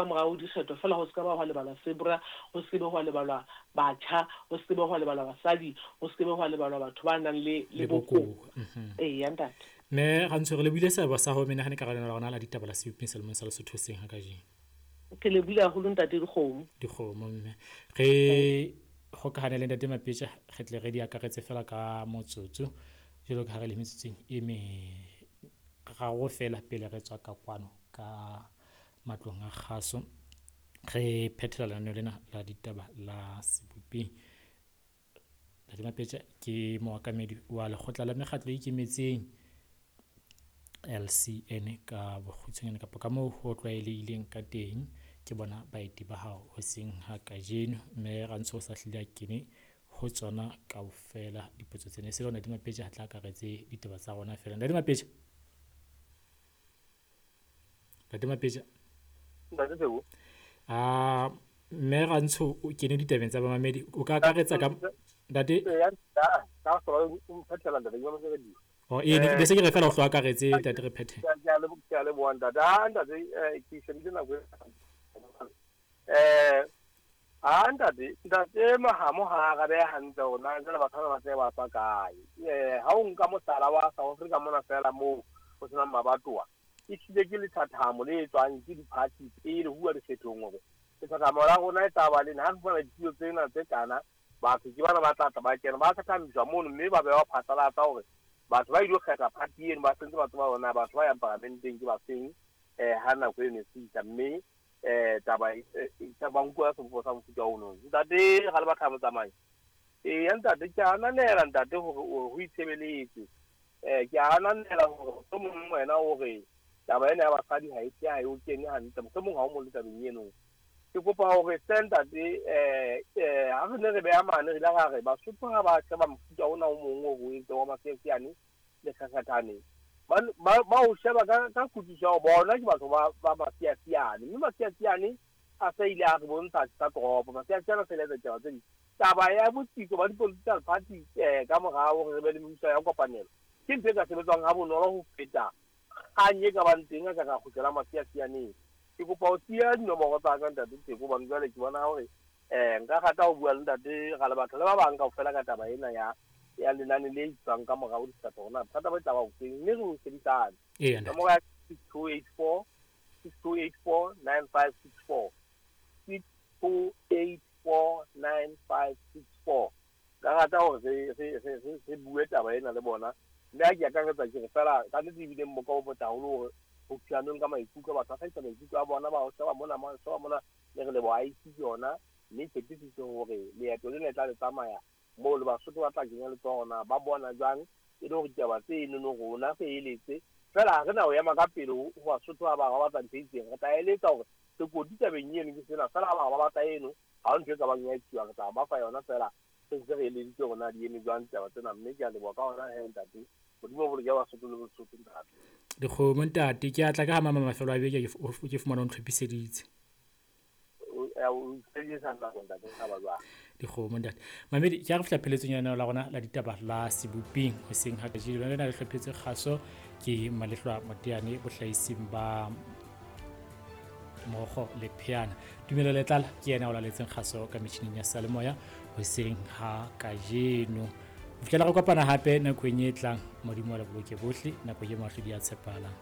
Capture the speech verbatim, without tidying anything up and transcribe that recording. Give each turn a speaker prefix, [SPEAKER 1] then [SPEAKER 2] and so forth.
[SPEAKER 1] Morao dikgetho fela ho se ka ba hwa lebalwa sebra, ho se ke be hwa lebalwa batjha, ho se ke be hwa lebalwa basadi, ho se ke be hwa lebalwa batho ba nang le le
[SPEAKER 2] Le
[SPEAKER 1] bokowa.
[SPEAKER 2] bokowa. Mhm.
[SPEAKER 1] Eya ntate.
[SPEAKER 2] Mme Rantsho re lebohile seabo sa hao menahane ka lenaneo la rona la ditaba la Seboping selemong sa Lesotho hoseng ha kajeno.
[SPEAKER 1] Ke lebohile haholo ntate Dikgomo.
[SPEAKER 2] Dikgomo mme. Re hokahane le ntate Mapetja re tle re di akaretse fela ka motsotso jwalo ka ha re le metsotsong e meraro fela pele re tswa ka kwano ka matlong a kgaso. Re phethela lenaneo lena la ditaba la Seboping. Ntate Mapetja ke mookamedi wa lekgotla la mekgatlo e ikemetseng L C N ka bokgutshwanyane kapa ka moo ho tlwaelehileng ka teng. Ke bona baeti ba hao hoseng ha kajeno, mme Rantsho o sa hlile a kene ho tsona kaofela dipotso tsena. E se le Ntate Mapetja a tla akaretse ditaba tsa rona fela. Ntate Mapetja, Ntate Mapetja.
[SPEAKER 3] Ntate Tsebo.
[SPEAKER 2] Ah, mme Rantsho o kene ditabeng tsa bamamedi, o ka akaretsa ka ntate?
[SPEAKER 3] Eya, ka ka hlola o mphethela ntate, ke bona se re di.
[SPEAKER 2] Oh, ee, ne se ke re fela o hlo akaretse ntate re phethe.
[SPEAKER 3] Ke a leboha, ke a leboha ntate. Ha ntate, eh, ke shebile nako e. Eh, ha ntate, ntate Mahamo ha arabe hantle hore na jwale batho bana ba tse ba tswa kae. Eh, ha o nka mohlala wa South Africa mona fela moo ho senang mabatowa, e hlile ke lethathamo le etswang ke di-party pele ho uwa dikgethong hore lethathamo la rona e tla ba lena. Ha re fumana ditulo tsena tse kana, batho ke bana ba tla tla ba kena, ba thathamiswa mono mme ba bewa phatlalatsa hore batho ba ilo kgetha party eno ba sentse ba tseba hore na batho ba yang paramenteng ke ba feng, eh, ha nako eno e fihla. Mme, eh, taba e, e, ba nkuwa sebopo sa mofuta ono. Ntate ga le batho ba motsamai. Eya ntate, ke a ananela ntate hore o ho itshebeletse. Eh, ke a ananela hore mohlomong wena o re taba ena ya basadi ha e tle, ha e o kene hantle, mohlomong ha o mo le tabeng eno. Ke kopa hore hle ntate, eh, eh, ha re ne re beha mane, re ile ra re Basotho ha ba sheba mofuta ona o mong o re o entseng wa Masiasiane le Kgakgathane, ba, ba, ba o sheba ka, ka kutlwisiso ya hore bona ke batho ba, ba Masiasiane, mme Masiasiane a sa ile a re bontsha sa toropo, Masiasiane a sa ile a etsa ditaba tse ding. Taba ya botsitso ba di-political party, eh, ka morao hore re be le mebuso ya kopanelo, ke ntho e ka sebetswang ha bonolo ho feta kgang e ka bang teng a ka ra kgutlela Masiasianeng. Ke kopa ho siya dinomoro tsa ka ntate Tseko, hobane jwale ke bona hore, eh, nka rata ho bua le ntate Ralebatho le ba bang kaofela ka taba ena ya, ya lenane le itswang ka morao dikgetho hore na bothata bo tla ba bofeng, mme re o sebedisane.
[SPEAKER 2] Eya, ntate.
[SPEAKER 3] Nomoro ya six two eight four, six two eight four, nine five six four. six two eight four, nine five six four. Nka rata hore re, re, re, re, re bue taba ena le bona. Mme ha ke akaretsa ke re fela, ka nnete ebile mmoka o motle haholo hore ho thuaneng ka maikutlo, batho ba hlahisa maikutlo a bona, ba o sheba mona, ba o sheba mona, le re leboha I C ke yona, mme tshepisitse hore leeto lena le tla le tsamaya moo le Basotho ba tla kenya letsoho na, ba bona jwang, e le hore ditaba tse enono rona re eletse. Fela ha re na ho ema ka pele ho, ho Basotho ba bang ba batla ntho e itseng, re tla eletsa hore sekoti tabeng eno ke sena, fela ha ba ba batla eno, ha ho ntho e ka bang ya etsuwa, re tla ba fa yona fela, re ntse re eleditse hore na di eme jwang ditaba tsena. Mme ke a leboha ka hona he ntate. Modimo o boloke Basotho le Bosotho ntate.
[SPEAKER 2] Dikgomo ntate, ke a tla ka ha mama mafelo a beke ke f-, ke fumana o ntlhophiseditse.
[SPEAKER 3] O, eh, o sebedisa nako ntate, o tla ba jwang?
[SPEAKER 2] Dikgomo ntate. Mamedi, ke a re fihla pheletsong ya lenaneo la rona la ditaba la Seboping hoseng ha kajeno. Lona le hlophetse kgaso ke Malehlwa Moteane bohlahising ba Mokgo le Pheana. Tumelo Letlala ke yena o laletseng kgaso ka metjhining ya seyalemoya hoseng ha kajeno. Ho fihlela re kopana hape nakong e tlang, Modimo a le boloke bohle, nako e mahlodi a tshepahalang.